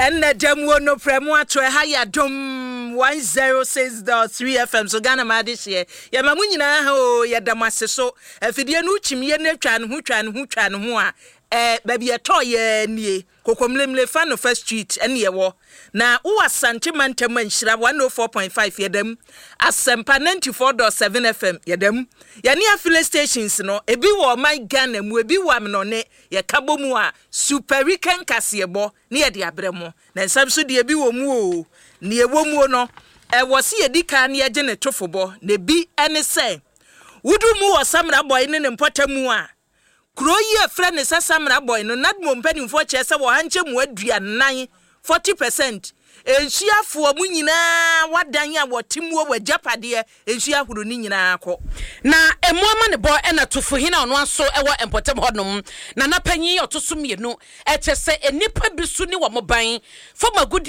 Ɛnna da mu o noprɛ mu ato ɛha yɛ Adom 106.3 FM so Ghana ma adehyeɛ. Yɛma mo nyinaa ha o, yɛda mo ase so. Afidie no wokyim yɛ no atwa ne ho twa ne ho twa ne ho a, eh, baabi ɛtɔɔ yɛ nie. Kokomlemle Fanofa Street ɛne ɛwɔ. Na wowɔ Asante mantam a Nhyira 104.5 yɛda mu. Asɛmpa 94.7 FM yɛda mu. Yɛne affiliate stations no, ebi wɔ ɔman Ghana mu, ebi wɔ amenɔne. Yɛka bɔ mu a, Super Weekend kaseɛbɔ ne yɛde abrɛ mo. Na nsɛm nso deɛ ebi wɔ mu o. Nea ɛwɔ muo no, ɛwɔ se yɛdi kan na yɛgye ne tofobɔ. Na ebi ne sɛ, wodu mu wɔ Samina Bɔe ne ne mpɔtam a, kuro yi a ɛfrɛ no sɛ Samina Bɔe no, NADMO mpanimfoɔ kyerɛ sɛ wɔ ha nkyɛmu 40, 40%, nsuo afoɔ mu nyinaa wadan a wɔte muo wɔ agyapadeɛ nsuo ahorow no nyinaa kɔ. Na emu amanebɔ na Tufuhene a ɔno ara nso wɔ mpɔtam hɔnom, Nana Panyin a ɔto so mmienu, kyerɛ sɛ nnipa bi so ne wɔn ban fam agudeɛ.